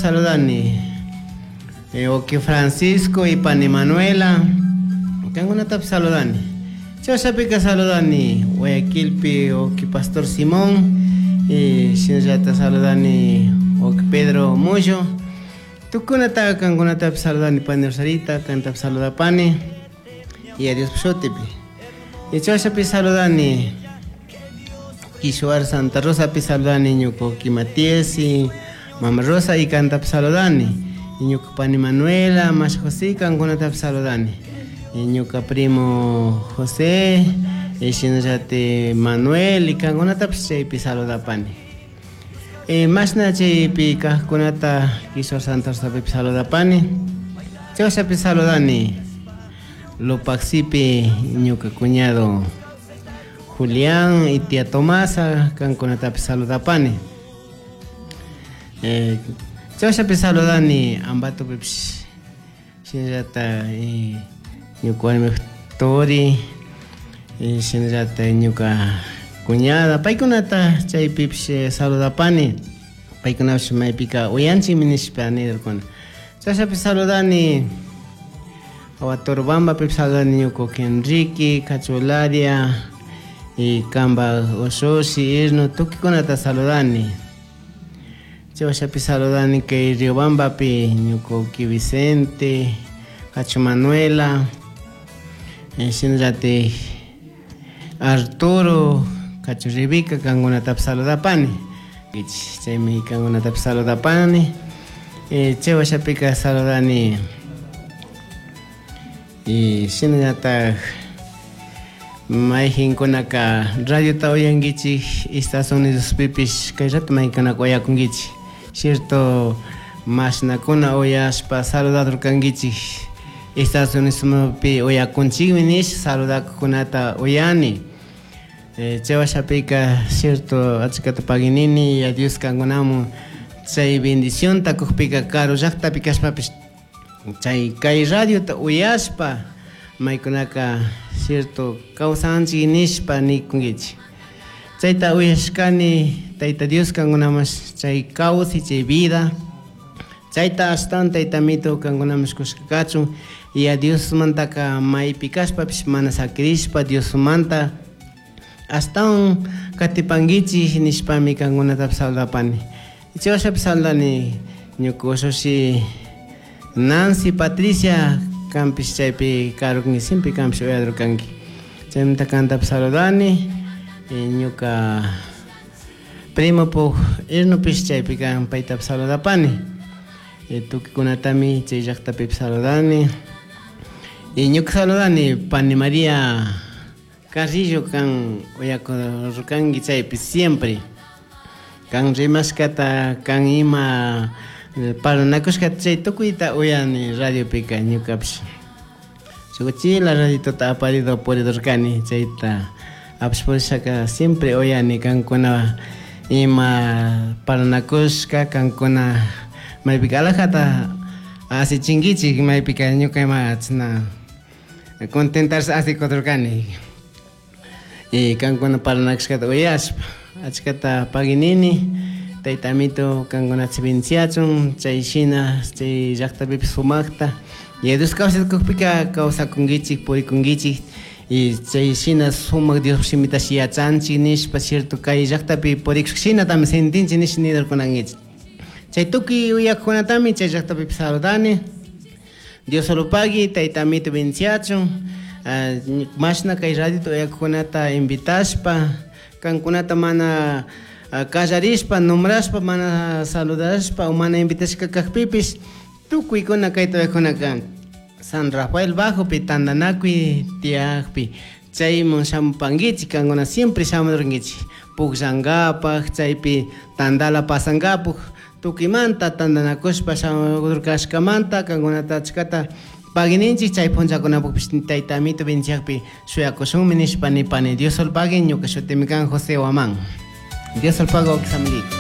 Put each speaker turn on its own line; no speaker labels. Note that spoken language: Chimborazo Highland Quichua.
Saludani. Oki Francisco y pani Manuela. Kankunatapish saludani. Chashapika saludani Guayaquilpi oki Pastor Simón. Y shinallata saludani oki Pedro Mullo. Tukunata kankunatapish saludani pani Rosarita, kantapish saludapani. Y a Dios shutipi. Y chashapi saludani Kishuar Santa Rosa pi saludani ñuka uki Matías y Mama Rosa y kantapish saludani. Y ñuka pani Manuela, Masha José kankunatapish saludani. Y ñuka primo José, y shinallati Manuel y kankunatapish chaypi saludapani. Mashna chaypi kajkunata Kishuar Santa Rosapipish saludapani. Chashapi saludani Lupaxipi ñuka cuñado Julián y tía Tomasa, kankunatapish saludapani. Chashapi saludani Ambatopipish shinallata ñuka warmi Tori, shinallata ñuka cuñada, paykunata chaypipish saludapani. Paykunapish maypika uyanchikmi nishpa nirkuna. Chashapi saludani Huatorobambapipish saludani ñuka Enrique, Cachularia y kamba ushushi, Irno, tukuykunata saludani. Chashapi saludani kay Riobambapi ñuka Vicente, Cacho Manuela, shinallati Arturo, Cacho Ribica, kankunatapish saludapani. Chaymi kankunatapish saludapani. Chay washapika saludani. Y shinallatak mayjinkunaka radiota uyankichik Estados Unidospipish kay rato maykunaka uyakunkichik. Cierto, mashnakuna uyashpa saludadurkankichik Estados Unidospi uyakunchikmi nish saludakukunata uyani. Chay washapika cierto achkata paginini y a Dios kankunamun chay bendicionta kukpika karu llaktapi kashpapish chay kay radiota uyashpa maykunaka cierto kawsanchik nishpa nikunkichik. Chayta uyashkani Tayta Dios kankunamas chay kawsay chay vida chayta ashtawan Tayta Amito kankunamas kushka kachun y a Diosmantaka maypi kashpapish mana sakirishpa Diosmanta ashtawan katipankichik nishpami kankunatapish saludapani. Chay washapish saludani ñuka ushushi Nancy Patricia kanpish chaypi karukunki siempre kanpish uyadurkanki. Chaymanta kantapish saludani ñuka primo puk Irnopish chaypi kan paytapish saludapani. Tukuykunatami chay llaktapipish saludani. Y ñuka saludani pani María Carrillo kan uyakurkanki chaypi siempre. Kan rimashkata, kan ima parlanakushkata chay tukuyta uyani radiopika ñukapish. Shukuchila radiotota aparido puridurkani chayta apash purishaka siempre uyani kankuna ima parlanakushka, kankuna maypika alajata asichinkichik maypika ñuka ima chashna contentarse asikudurkani. Y kankuna parlanakushkata uyashpa achkata paginini Tayta Amito kankunata bendiciachun chay shina chay llaktapipish sumakta y Dios kawsakukpika kawsakunkichik purikunkichik y chay shina sumak Dios shimitash yachanchik nishpa cierto kay llaktapi purikushka shinatami sentinchik nish nidurkunankichik. Chay tukuy uyakukunatami chay llaktapipish saludani. Dios solo pagui, Tayta Amito bendiciachun. Mashna kay radiota uyakukunata invitashpa kankunata mana kallarishpa, nombrashpa, mana saludashpa o mana invitashka kakpipish tukuykuna kayta uyakunaka San Rafael Bajopi tandanakuy tiyakpi chayman shamupankichik kankuna siempre shamudurkankichik pukllankapaj chaypi tandala pasankapak tukuymanta tandanakushpa shamudurkashkamanta kankunata achkata pagininchik chay punllakunapukpish Tayta Amito bendiciakpi shuyakushunmi nishpa nipani. Dios solo pagui, ñuka shutimi kan José Guamán. Dios solo pago, amiguito.